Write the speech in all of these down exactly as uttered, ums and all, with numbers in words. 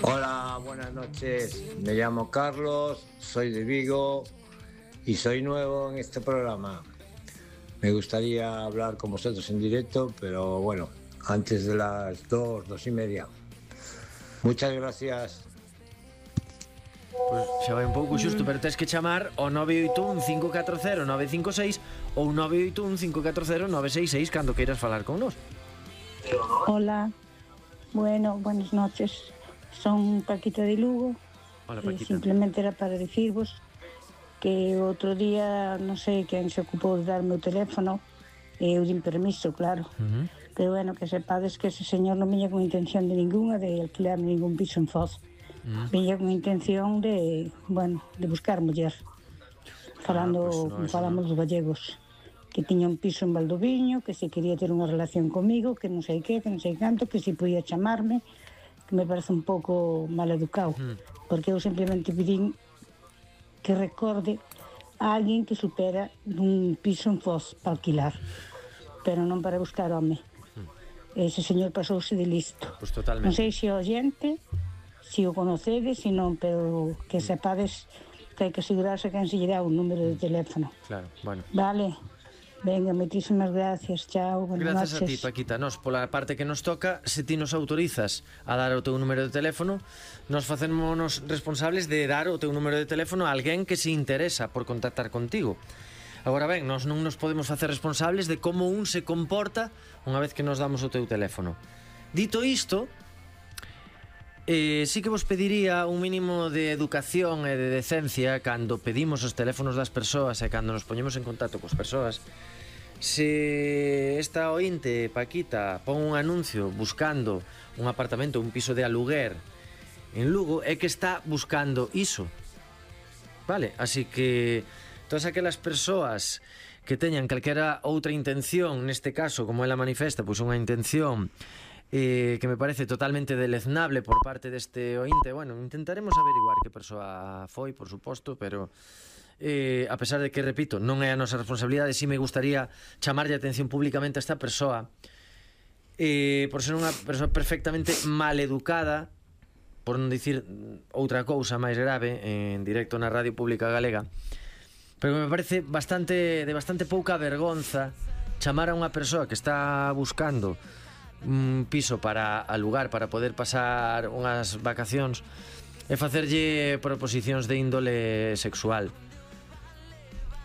Hola, buenas noches. Me llamo Carlos, soy de Vigo y soy nuevo en este programa. Me gustaría hablar con vosotros en directo, pero bueno, antes de las dos, dos y media. Muchas gracias. Pois xa vai un pouco xusto, pero tens que chamar ao nove oito un cinco catro cero nove cinco seis ou nove oito un cinco catro cero nove seis seis cando queiras falar con nós. Hola, bueno, buenas noches. Son Paquita de Lugo. Hola, e Paquita. simplemente era para dicirvos que outro día non sei quen se ocupou de darme o teléfono e eu din permiso, claro. Uh-huh. Pero bueno, que sepades que ese señor non viña con intención de ninguna de alquilarme ningún piso en Foz. Uh-huh. Viña con intención de, bueno, de buscar muller. Falando, ah, pues no, como falamos dos gallegos, que tiña un piso en Valdoviño, que se quería ter unha relación comigo, que non sei que, que non sei canto, que si podía chamarme, que me parece un pouco mal educado, uh-huh. porque eu simplemente pedín que recorde a alguén que supera un piso en Foz para alquilar, pero non para buscar home. Uh-huh. Ese señor pasouse de listo. Pues totalmente. Non sei se o xente, se o conocedes, se non, pero que sepades que hai que asegurarse que se lle dá un número de teléfono. Claro, bueno. Vale, venga, moitísimas gracias, chao, buenas Gracias noches. a ti, Paquita. Nos, pola parte que nos toca, se ti nos autorizas a dar o teu número de teléfono, nos facémonos responsables de dar o teu número de teléfono a alguén que se interesa por contactar contigo. Agora ben, nós non nos podemos facer responsables de como un se comporta unha vez que nos damos o teu teléfono. Dito isto, Eh, sí que vos pediría un mínimo de educación e de decencia cando pedimos os teléfonos das persoas e cando nos poñemos en contacto cos persoas. Se esta ointe, Paquita, pon un anuncio buscando un apartamento, un piso de aluguer en Lugo, é que está buscando iso. Vale, así que todas aquelas persoas que teñan calquera outra intención, neste caso, como ela manifesta, pois unha intención Eh, que me parece totalmente deleznable por parte deste ointe. Bueno, intentaremos averiguar que persoa foi, por suposto, pero eh, a pesar de que, repito, non é a nosa responsabilidade, si me gustaría chamarlle a atención públicamente a esta persoa eh, por ser unha persoa perfectamente maleducada, por non dicir outra cousa máis grave, en directo na Radio Pública Galega, pero me parece bastante de bastante pouca vergonza chamar a unha persoa que está buscando un piso para alugar, para poder pasar unhas vacacións e facerlle proposicións de índole sexual.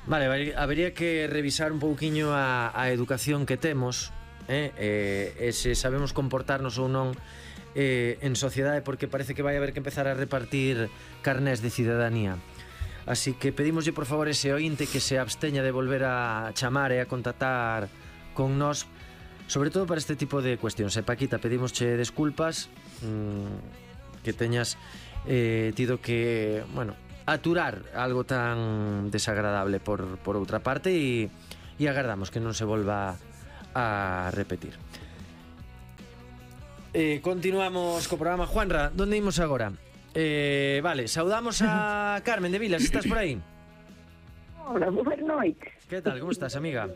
Vale, habería que revisar un pouquiño a, a educación que temos, eh? E, e se sabemos comportarnos ou non eh, en sociedade, porque parece que vai haber que empezar a repartir carnés de cidadanía. Así que pedimoslle por favor ese ointe que se absteña de volver a chamar e a contactar con nós, sobre todo para este tipo de cuestións. E Paquita, pedimosche desculpas mmm, que teñas eh, tido que, bueno, aturar algo tan desagradable por, por outra parte, e, e agardamos que non se volva a repetir. Eh, continuamos co programa. Juanra, onde imos agora? Eh, vale, saudamos a Carmen de Vilas, estás por aí? Hola, boas noites. Que tal, como estás, amiga?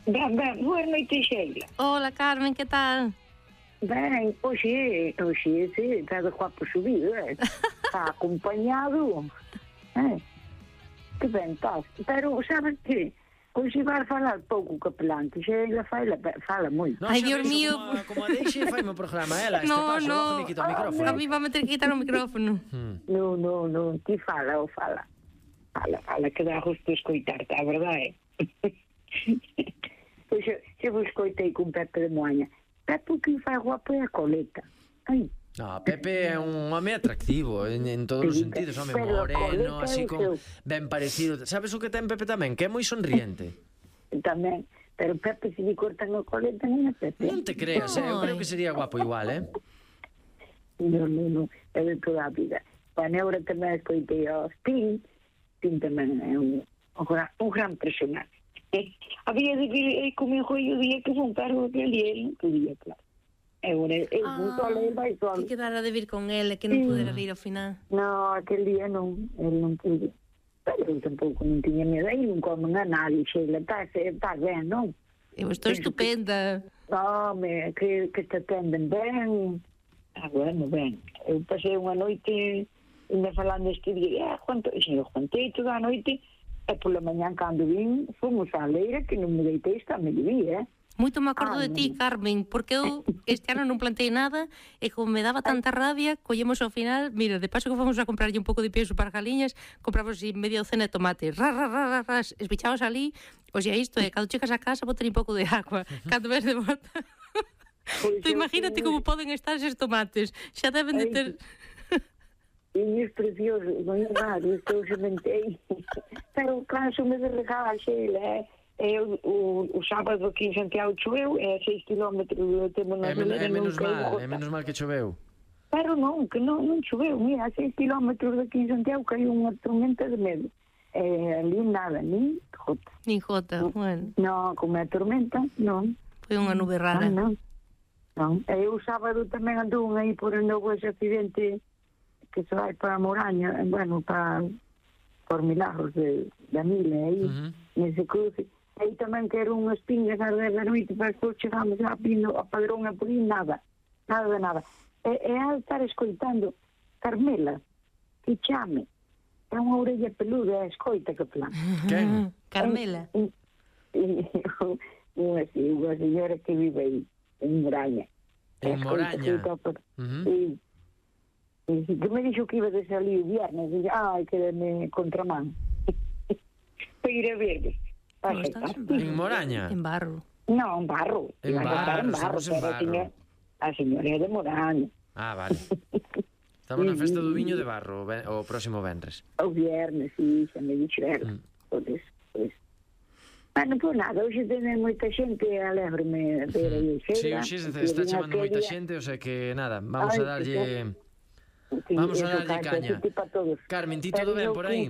Ben, ben, boas noites, Sheila. Hola, Carmen, que tal? Ben, hoxe, hoxe, sí, está de guapo subido, eh? Está acompañado. Eh? Que ben estás. Pero, sabes que? Hoxe vai falar pouco que plante. Sheila fala, fala moito. No, Ai, Dios ves, mío. Como, como a deixe, faime o programa, ela, este No, paso, no. bajo me quita o micrófono. A mí va a meter que quitar o micrófono. Hmm. No, no, no, ti fala ou fala. Fala, fala, que dá gusto escoitarte, a verdade, eh? Pois eu, eu vos escoitei con Pepe de Moaña. Pepe o que fai guapo é a coleta. Ai. No, Pepe é un home atractivo en, en todos os Sí, sentidos, home pero moreno, coleta así é con seu. ben parecido. Sabes o que ten Pepe tamén? Que é moi sonriente. Tamén, pero Pepe se lle cortan a coleta non é Pepe. Non te creas, eh? Eu Ai. creo que sería guapo igual, eh? Non, non, non, é de toda a vida. A Neura tamén escoitei a Spin, Spin tamén é un, un, gran, un gran personaje. Eh, había de vir comigo o día que fue un cargo que ele non podía, claro. E agora, eu fui sola, ele vai sola. Que quedara de vir con ele, que non pudera vir ao final. No, aquel día non, ele non podía. Pero eu tampouco non tiña medo, aí non comen a nadie, Sheila, está, está ben, non? Eu estou Penso estupenda. Que, home, que, que te atenden ben. Ah, bueno, ben. eu pasei unha noite ainda falando este día, eh, Juan, eu contei toda a noite, e pola mañán cando vin, fomos á leira que non me deitei esta mediodía, eh. Moito me acordo Ah, de ti, non. Carmen, porque eu este ano non plantei nada e como me daba tanta rabia, collemos ao final, mira, de paso que fomos a comprarlle un pouco de peso para as galiñas, compramos así media docena de tomate, ra, ra, ra, ra, ra, esbichabas ali, o sea, isto é, cando chegas a casa, botar un pouco de agua, cando ves de volta. Pois Tú eu imagínate fui- como poden estar eses tomates, xa deben de Ai, ter... E es precioso, non é raro, que eu sementei. Pero canso-me de regar, Sheila, eh. E o, o, o sábado aquí en Santiago choveu, é seis kilómetros do temo na É, men leira, é non menos caiu mal, gota. é menos mal que choveu. Pero non, que non, non choveu, mira, a seis kilómetros daqui en Santiago caiu unha tormenta de medo. Eh, ali nada, nin jota. Nin jota, bueno, Non, como é tormenta, non. foi unha nube rara. Non, non. Non. E eu o sábado tamén andou aí por onde houve ese accidente que se vai para Moraña, bueno, para por Milagros de, de Mile, aí, Ujú. nese cruce. Aí tamén quero unhas pingas a dez da noite, para despois chegamos a Pino, a Padrón, a por aí, nada. Nada de nada. E, e a estar escoitando Carmela, que chame. É unha orella peluda, é a escoita que plan. Quen? Carmela. Unha, sí, unha señora que vive aí, en Moraña. En Moraña. Ujú. Sí. E sí, que me dixo que iba de salir o viernes, e ai, que me contramán. Para ir a verdes. No, estás en barro. En Moraña? En barro. Non, en barro. En Iba a estar en Barro, barro, estamos en pero a Barro. señora- a señora é de Moraña. Ah, vale. Estamos na festa do viño de Barro o ve- o próximo venres. O viernes, sí, xa me dixo ela. Mm. Pois, pois. Bueno, pois nada, hoxe tenen moita xente, alegro-me ver aí Sí, Sheila. hoxe se que está vin chamando moita aquella- xente, o sea que nada, vamos Ai, a darlle... Sí, Vamos a eso, darlle cacho, caña. así para todos. Carmen, ti Pero todo ben eu por que- aí?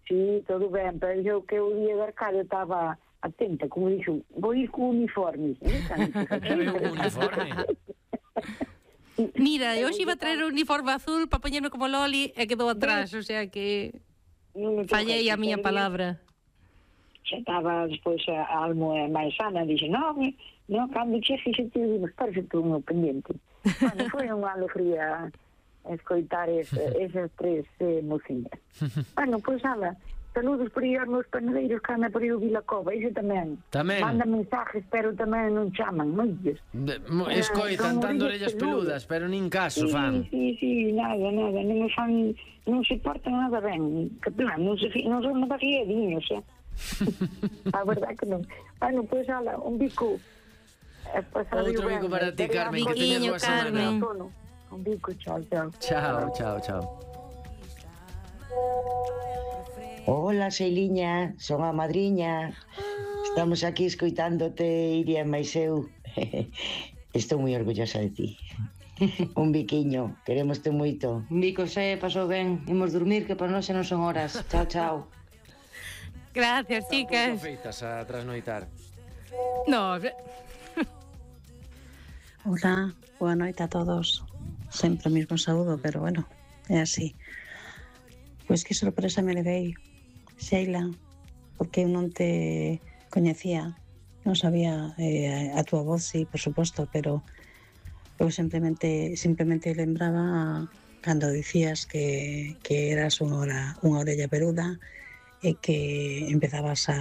Sí, todo ben, pero eu que o día de Arcadio estaba atenta, como dixo, vou ir co uniforme. É ben un uniforme. Mira, eu hoxe iba a traer o uniforme azul para poñerme como Loli e quedou atrás, o sea que fallei a miña palabra. Xa estaba despois a almo máis sana, dixe, non, non, cando chexe xe te digo, parece todo un pendiente. Bueno, foi unha alegría escoitar ese, esas tres eh, mociñas. Bueno, pois, ala, saludos por aí aos meus panadeiros que anda por aí o Vilacova, ese tamén. Tamén. Manda mensajes, pero tamén non chaman, moitos. De- mo- Ah, Escoitan son tanto orellas orellas peludas, pero nin caso Sí, fan. sí, sí, nada, nada, non me fan, non se portan nada ben, que plan, non se, fi- non son nada fiediños, eh. A verdade que non. Bueno, pois, ala, un bico. Eh, pasade Outro ben, bico para ti, espero Carmen, a que teñas Biquiño, boa semana. Carmen. Un bico, chao, chao. Chao, chao, chao. Hola, Xeiliña, son a madriña. Estamos aquí escoitándote, Iria e máis eu. Estou moi orgullosa de ti. Un biquiño, queremoste moito. Un bico xe pasou ben, imos dormir que para nós xa non son horas. Chao, chao. Gracias, chicas. Feitas a trasnoitar. No, Hola, boa noite a todos. Sempre o mismo saúdo, pero bueno, é así. Pois que sorpresa me levei, Sheila, porque eu non te coñecía, non sabía eh, a túa voz, sí, por suposto, pero eu simplemente simplemente lembraba cando dicías que, que eras unha, ora, unha orella peluda e que empezabas a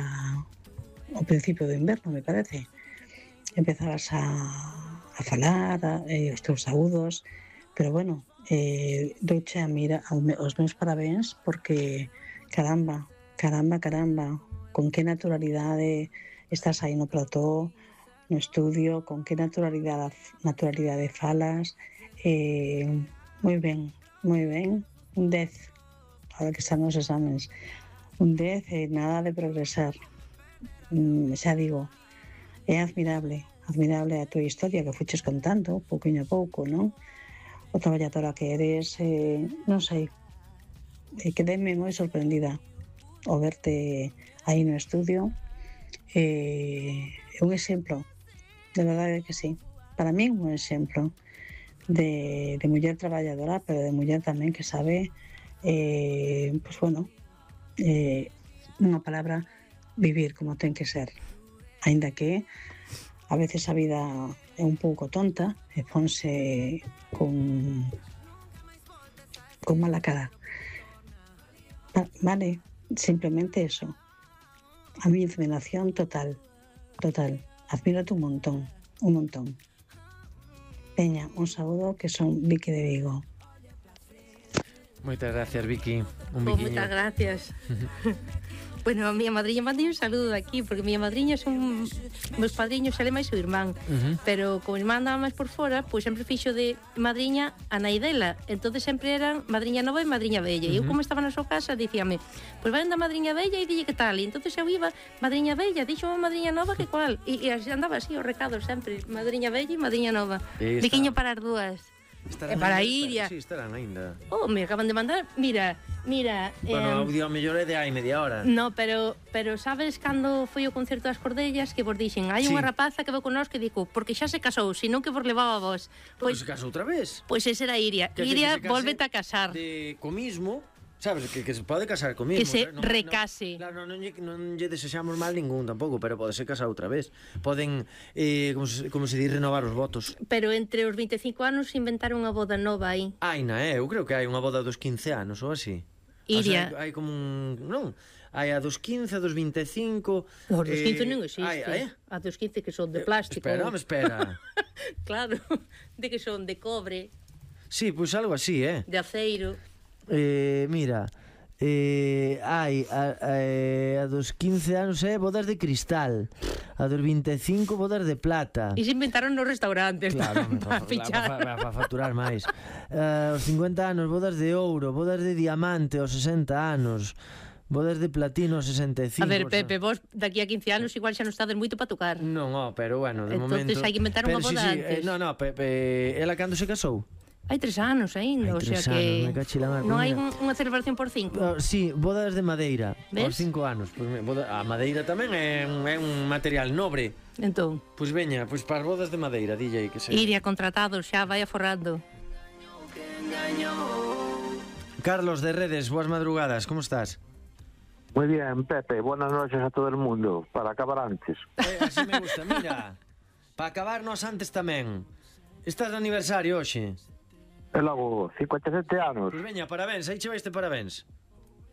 ao principio do inverno, me parece. Empezabas a, a falar, a, eh, os teus saúdos, pero bueno, eh, douche a mira aos meus parabéns porque caramba, caramba, caramba, con que naturalidade estás aí no plató, no estudio, con que naturalidade naturalidade falas, eh, moi ben, moi ben, un dez, ahora que están os exames, un dez e nada de progresar, mm, xa digo, é admirable, admirable a tua historia que fuches contando, pouquinho a pouco, non? O traballadora que eres, eh, non sei, eh, quedeme moi sorprendida ao verte aí no estudio. É eh, un exemplo, de verdade que sí. Para mí un exemplo de, de muller traballadora, pero de muller tamén que sabe, eh, pues bueno, eh, unha palabra, vivir como ten que ser. Aínda que a veces a vida é un pouco tonta e ponse con con mala cara. Va- Vale, simplemente eso. A mi admiración total, total. Admírate un montón, un montón. Peña, un saludo que son Vicky de Vigo. Moitas gracias, Vicky. Un Oh, biquiño. moitas gracias. Bueno, a miña madriña mandei un saludo aquí, porque miña madriña son meus padriños, ela e máis o irmán. Ujú. Pero como irmán andaba máis por fora, pois sempre fixo de madriña a nai dela. Entonces sempre eran madriña nova e madriña vella. E eu, como estaba na súa casa, dicíame, pois vai da madriña vella e dille que tal. E entonces eu iba, madriña vella, dixo a madriña nova que cual. E, e así andaba así, o recado sempre, madriña vella e madriña nova. E está- Biquiño para as dúas. Estarán E para aínda? Iria. Sí, estarán aínda. Oh, me acaban de mandar, mira, mira... Bueno, em, o audio mellor é de hai media hora. No, pero pero sabes cando foi o concerto das Cordellas que vos dixen, hai Sí. unha rapaza que vou con nós que dico, porque xa se casou, senón que vos levaba a vos. Pois Pois se casou outra vez. pois esa era Iria. Que- que- Iria, que se case volvete a casar. De co mismo, sabes, que, que se pode casar co mismo. Que se non- recase. Non, claro, non, non, lle, non lle desexamos mal ningún tampouco, pero pode ser casar outra vez. Poden, eh, como, se, como se di, renovar os votos. Pero entre os veinticinco anos inventaron unha boda nova aí. Aina, eh, eu creo que hai unha boda dos quince anos ou así. Iria. O sea, hai, hai como un... Non, hai a dos quince, a dos veinticinco... Os dos eh, quince non existe. Hai, eh? A dos quince que son de plástico. Espera, home, espera. Claro, de que son de cobre, Sí, pois algo así, eh? de aceiro. Eh, mira, eh, hai a, a, a dos quince anos é bodas de cristal, a dos veinticinco bodas de plata. E se inventaron nos restaurantes Claro, para para fichar. pa, pa, pa facturar máis. Uh, os cincuenta anos, bodas de ouro, bodas de diamante, os sesenta anos, bodas de platino, os sesenta e cinco. A ver, Pepe, vos daqui a quince anos igual xa non estades moito para tocar. Non, oh, pero bueno, de Entonces momento... hai que inventar unha Pero sí, boda sí, antes. eh, no, no, Pepe, ela cando se casou? Hai tres anos Hai aínda, o sea tres que anos, me cachi la mar, non pues hai mira. un, unha celebración por cinco. Oh, sí, bodas de madeira, aos Ves? cinco anos. Pues, me- boda, a madeira tamén é un, é un material nobre. Entón, Pois veña, pois para as bodas de madeira, D J, que se... Iria contratado, xa vai aforrando. Carlos de Redes, boas madrugadas, como estás? Muy bien, Pepe, buenas noches a todo el mundo, para acabar antes. Eh, así me gusta, mira. Para acabarnos antes tamén. Estás de aniversario hoxe. E logo, cincuenta e sete anos. Pois veña, parabéns, aí che vai este parabéns.